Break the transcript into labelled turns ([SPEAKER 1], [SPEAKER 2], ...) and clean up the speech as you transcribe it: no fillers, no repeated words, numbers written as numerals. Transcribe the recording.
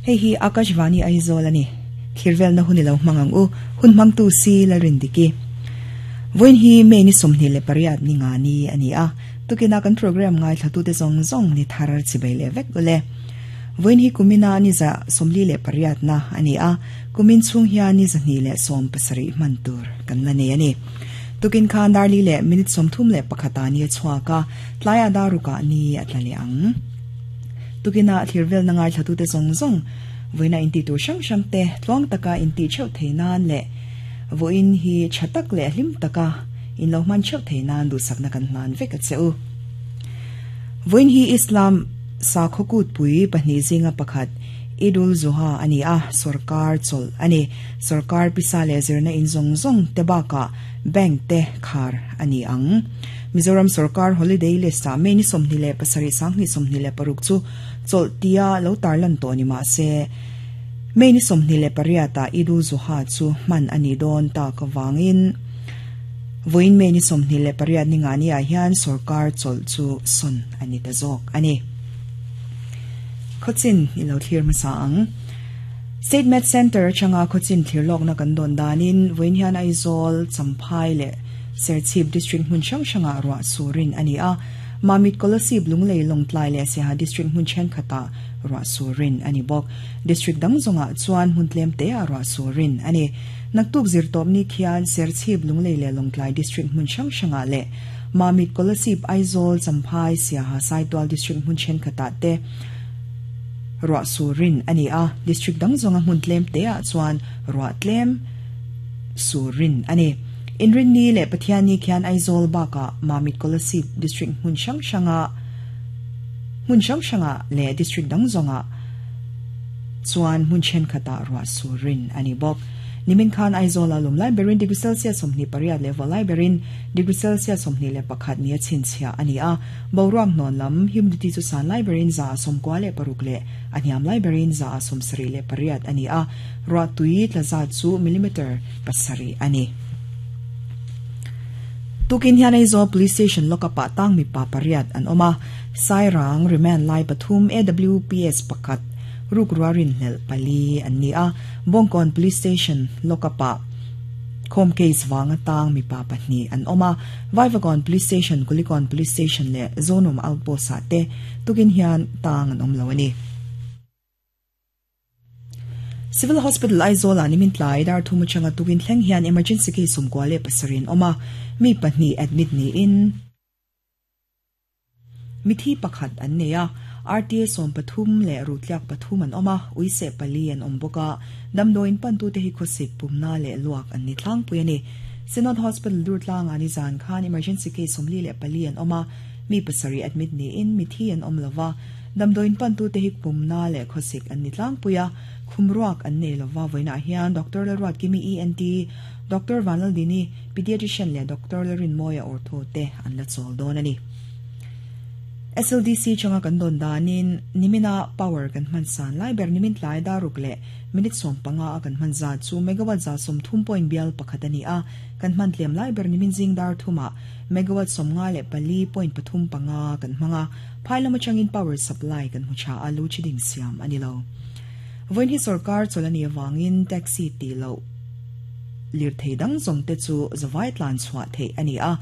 [SPEAKER 1] Hei hi Akashvani Aizawl a ni. Thirvelna hun i lo hmang ang u, hun hmangtu si Lalrindiki. Vawiin hi May ni 28 ni nga ni a ni a, tukina kan programme ngaithlatute zawng zawng ni thar chibei leh vek ule. Vawiin hi kumina ni 48 na a ni a, kumin chhung hian ni 270 hman tur kan la nei a ni. Tukin khan dar li leh minute 31 ah ni a chhuak a, tlaiah dar rukah ni a tla leh ang. Tukina thirvelna ngaithlatute zawng zawng vawiina intih tur hrang hrang te tluang taka intih theuh thei nan leh vawiin hi tha tak leh hlim taka in lo hman theuh thei nan duhsakna kan hlan vek a che u. Vawiin hi Islam sakhaw kutpui pahnih zinga pakhat Eid-ul-Zuha a ni a, sorkar chawlh a ni. Sorkar pisa leh zirna in zawng zawng te bakah bank te khar a ni ang. Mizoram sorkar holiday list ah May ni 27 2026 chu chawlh tia lo tarlan tawh ni mah se, May ni 28 ah Eid-ul-Zuha chu hman a nih dawn tak avangin vawiin May ni 28 ni ngah ni ah hian sorkar chawlh chu sawn a ni ta zawk a ni. Khawchin i lo thlir hmasa ang. State Med Centre atanga khawchin thlir lawkna kan dawn danin vawiin hian Aizawl, Champhai leh Serchhip District hmun hrang hrangah ruah surin a ni a, Mamit Kolasib, Lunglei, Lawngtlai leh Siaha District hmun thenkhatah ruah surin a ni bawk. District dang zawngah chuan hmun tlem teah ruah surin a ni. Naktuk zirtawp ni khian Serchhip, Lunglei leh Lawngtlai District hmun hrang hrangah leh Mamit Kolasib, Aizawl, Champhai, Siaha, Saitual District hmun thenkhatah te ruah surin a ni a, District dang zawnga hmun tlem teah chuan ruah tlem surin a ni. Inrinni leh Pathianni khian Aizawl bakah Mamit Kolasib District hmun hrang hranga hmun hrang hrangah leh District dang zawngah chuan hmun thenkhatah ruah surin a ni bawk. Nimin khan Aizawla lum lai berin degree Celsius 28 leh vawh lai berin degree Celsius 21 nia chhinchhiah a ni a. Boruak hnawn lam humidity chu san lai berin 96 leh a hniam lai berin 78 a ni a. Ruah tui tla zat chu millimeter pasarih a ni. Tukin hian Aizawl Police Station lockup ah tang mipa pariat an awm a, Sairang remand lai pathum AWPS pakhat rukrua rinhlelh pali an ni a, Bawngkawn Police Station lockup ah khawm case vanga tang mipa pahnih an awm a, Vaivakawn Police Station, Kulikawn Police Station leh Zonawm Outpost ah te tukin hian tang an awm lo a ni. Civil Hospital Aizawl ah nimin tlai dar thum atanga tukin thleng hian emergency case 97 an awm a, mi pahnih admit niin mithi pakhat an nei a, RTA 13 leh ruhtliak pathum an awm a, uiseh pali an awm bawk a, damdawiin pantute hi khawsik pumna leh luak an ni tlangpui a ni. Synod Hospital Durtlang ah nizan khan emergency case 44 an awm a, mi pasarih admit niin mithi an awm lova, Damdawiin pantute hi pumna leh khawsik an ni tlangpui a, khum ruak an nei lova. Vawiinah hian Doctor Lalruatkimi, ENT, Doctor Vanlaldini, Pediatrician leh Doctor Lalrinmawia Ortho te an la chawl dawn a ni. SLDC changa kan dawn danin nimina power kan hman san lai ber nimin tlai dar ruk leh minute 15 a kan hman zat chu megawatt 130 point bial pakhat a ni a, kan hman tlem lai ber nimin zing dar thumah megawatt 54.35 kan hmang a. Phai lam atangin power supply kan hmu tha a, lu chi ding siam a ni lo. Vawiin hi sorkar chawlh a nih avangin taxi tih loh lirthei dang zawng te chu zavai tlan chhuah theih a ni a.